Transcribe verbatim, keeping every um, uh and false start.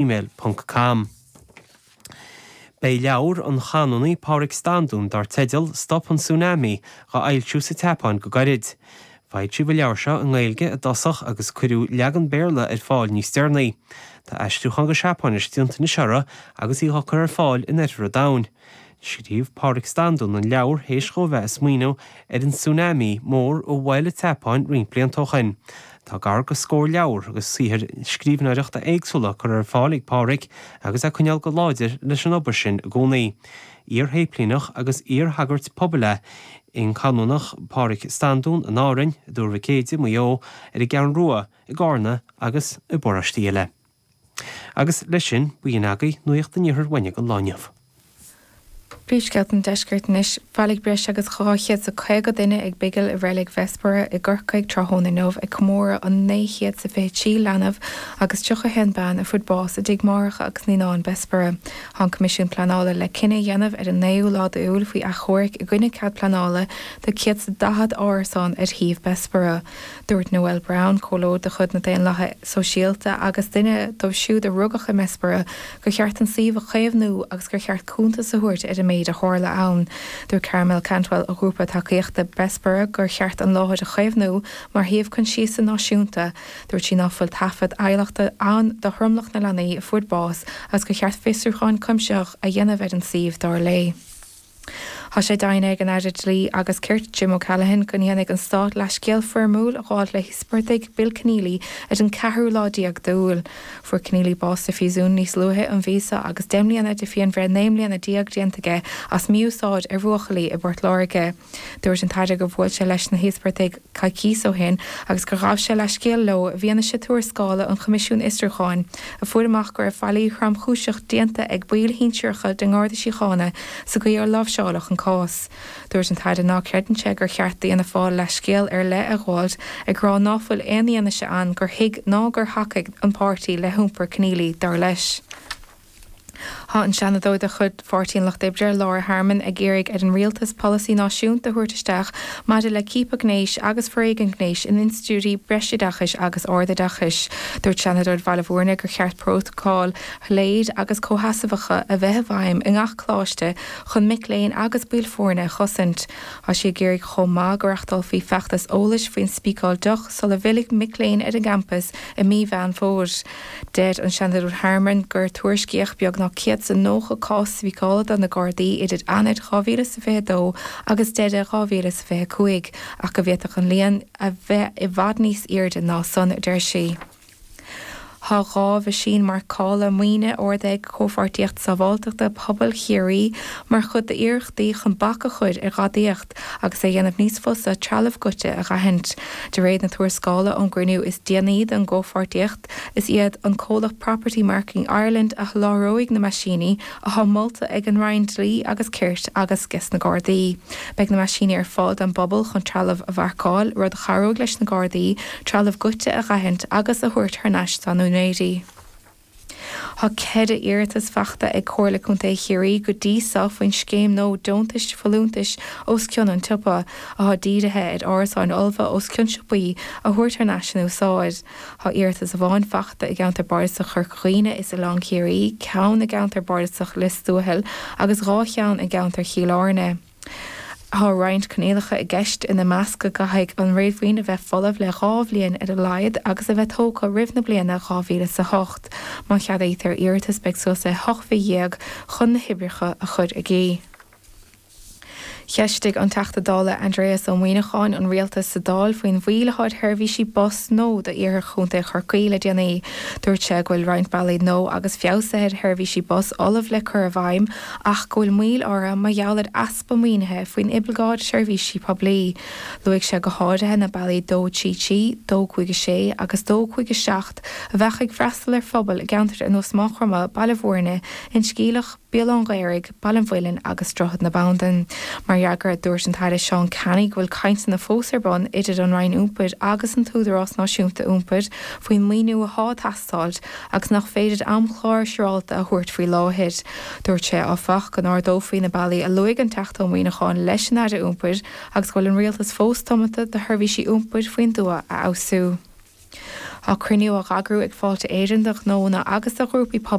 gmail ponc com. Beidh leabhar an chanúnaí Pádraig Standún dar teideal Stop an Tsunami dhá fhoilsiú sa tSeapáin go gairid. Foilsíodh an leabhar seo i nGaeilge i dtosach agus cuireadh leagan Béarla ar fáil níos deireanaí. Tá aistriúchán go Seapáinis déanta anois uirthi agus í á cur ar fáil in oirthear an domhain. Scríobh Pádraig Standún an leabhar théis dhó bheith ag smaoineamh ar an tsunami mór a bhuail an tSeapáin roinnt blianta ó shin. Tá gar go scór leabhar agus saothair scríbhneoireachta éagsúla curtha ar fáil ag Pádraig agus é ag coinneáil go láidir leis an obair sin i gcónaí. Iar-shéiplíneach agus iar-shagart pobail é an Canúnach Pádraig Standún in Árainn, i dTuar Mhic Éide, Maigh Eo, ar an gCeathrú Rua, i gCarna agus i bparóistí eile. Agus leis sin, b'in agaibh Nuacht an Iarthair uainne don lá inniu. Príomhscéalta an Deiscirt anois, bhailigh breis agus dhá chéad is a caoga duine ag bigil i reilig Bhessborough i gCorcaigh tráthnóna inniu ag comóradh an naoi chéad is a fiche trí leanbh agus tríocha haon bean a fuair bás i dtigh máithreacha agus naíonán Bessborough. Tá an Coimisiún Pleanála le cinneadh a dhéanamh ar an naoú lá d'Iúil faoi achomharc i gcoinne cead pleanála do céad is daichead árasán ar shuíomh Bessborough. Dúirt Noel Browne, comhairleoir de chuid na Daonlathaithe Sóisialta agus duine dóibh siúd a rugadh i mBessborough, gur cheart an suíomh a chaomhnú agus gur cheart cuntas a thabhairt ar an méid a tharla ann. Dúirt Carmel Cantwell ó ghrúpa tacaíochta Bessborough gur cheart an láthair a chaomhnú mar shuíomh coinsiasa náisiúnta. Dúirt sí ná fuil taifead adhlactha ann do thromlach na leanaí a fuair bás agus gur cheart fiosrúchán cuimsitheach a dhéanamh ar an suíomh dar léi. Tá sé deimhnithe ag an Aire Dlí agus Cirt Jim O'Callaghan go ndéanfaidh an Stát leithscéal foirmiúil a ghabháil le híospartaigh Bill Kenneally ar an ceathrú lá déag d'Iúil. Fuair Kenneally bás sa phríosún níos luaithe an mhí seo agus deich mbliana de phianbhreith naoi mbliana déag déanta aige as mí-úsáid ar bhuachaillí i bPort Láirge. Dúirt an tAire gur bhuail sé leis na híospartaigh coicís ó shin agus gur ghabh sé leithscéal leo i bhfianaise tuarascála an Choimisiúin Fhiosrúcháin a fuair amach go raibh faillí thromchúiseach déanta ag baill shinsearacha den nGarda Síochána sa gcaoi ar láimhseáladh an cás. Dúirt an tAire ná creideann sé gur cheart d'Fhianna Fáil leithscéal ar leith a ghabháil, ag rá ná fuil aon fhianaise ann gur thuig ná gur thacaigh an páirtí le hiompar Kenneally, dar leis. Tá an Seanadóir de chuid Pháirtí an Lucht Oibre, Laura Harmon, ag iarraidh ar an rialtas polasaí náisiúnta a thabhairt isteach maidir le ciapadh gnéis agus foréigean gnéis in institiúidí breisoideachais agus ardoideachais. Dúirt Seanadóir Bhaile Bhúirne gur cheart prótacail shoiléir agus comhsheasmhacha a bheith i bhfeidhm i ngach coláiste chun mic léinn agus baill foirne a chosaint. Tá sí ag iarraidh chomh maith go reáchtálfaí feachtas eolais faoin spíceáil deoch sula bhfillfidh mic léinn ar an gcampas i mí Mheán Fómhair. Deir an Seanadóir Harmon gur tuairiscíodh beagnach céad is nócha cás spíceála do na Gardaí idir Eanáir dhá mhíle is a fiche dó agus deireadh dhá mhíle is a fiche cúig ach go bhféadfadh an líon a bheith i bhfad níos airde ná san, a deir sí. Tá dhá mheaisín marcála maoine ordaithe ag Comhpháirtíocht Sábháilteachta Pobail Chiarraí mar chuid d'iarrachtaí chun bac a chur ar ghadaíocht agus é a dhéanamh níos fusa trealamh goidte a dh'aithint. De réir na tuarascála ón gcruinniú is déanaí den gcomhpháirtíocht, is iad an comhlacht Property Marking Ireland a sholáthróidh na meaisíní, atá molta ag an Roinn Dlí agus Cirt agus ges na Gardaí. Beidh na meaisíní ar fáil don bpobal chun trealamh a mharcáil, rud a chabhróidh leis na Gardaí trealamh goidte a dh'aithint agus a thabhairt thar n-ais dá n-úinéirí. Tá ceithre iarratas faighte ag Comhairle Contae Chiarraí go dtí seo faoin scéim nua deontais folúntais os cionn an tsiopa, atá dírithe ar árasáin fholmha os cionn siopaí a thabhairt thar n-ais in úsáid. Tá iarratas amháin faighte i gceantar bardasach Chorca Dhuibhne is Oileán Ciarraí, ceann i gceantar bardasach Lios Tuathail agus dhá cheann i gceantar Chill Airne. Tá roinnt coinníollacha i gceist, ina measc go gcaithfidh an réadmhaoin a bheith folamh le dhá bhliain ar a laghad agus a bheith tógtha roimh na bliana dhá mhíle is a hocht. Má cheadaítear iarratas beidh suas le hocht mhí dhéag chun na hoibreacha a chur i gcrích. Cheistigh an Teachta Dála Aindrias Ó Muimhneacháin an Rialtas sa Dáil faoin mhoill atá ar sheirbhísí bus nua d'Iarthar Chontae Chorcaí le déanaí. Dúirt sé go bhfuil roinnt bealaí nua agus feabhsuithe ar sheirbhísí bus ullamh le cur i bhfeidhm ach go bhfuil moill orthu mar gheall ar easpa maoinithe faoin oibleagáid seirbhísí poiblí. Luaigh sé go háirithe na bealaí dó trí trí, dó cúig a sé agus dó cúig a seacht a bheadh ag freastal ar phobail i gceantair ar nós Maigh Chromtha, Baile Bhúirne, Inse Geimhleach, Béal Átha'n Ghaorthaidh, Baile an Mhuilinn agus Droichead na Bandan. Mar fhreagra, dúirt an tAire Seán Canney go bhfuil cainteanna fós ar bun idir an Roinn Iompair agus an tÚdarás Náisiúnta Iompair faoin maoiniú atá ag teastáil agus nach féidir amchlár siúrálta a thabhairt faoi láthair. Dúirt sé, áfach, go n-ardófaí na bealaí a luaigh an Teachta Ó Muimhneacháin leis an Aire Iompair agus go bhfuil an Rialtas fós tiomanta do sheirbhísí iompair faoin dtuath a fheabhsú. Tá cruinniú á eagrú ag Fáilte Éireann do ghnónna agus do ghrúpaí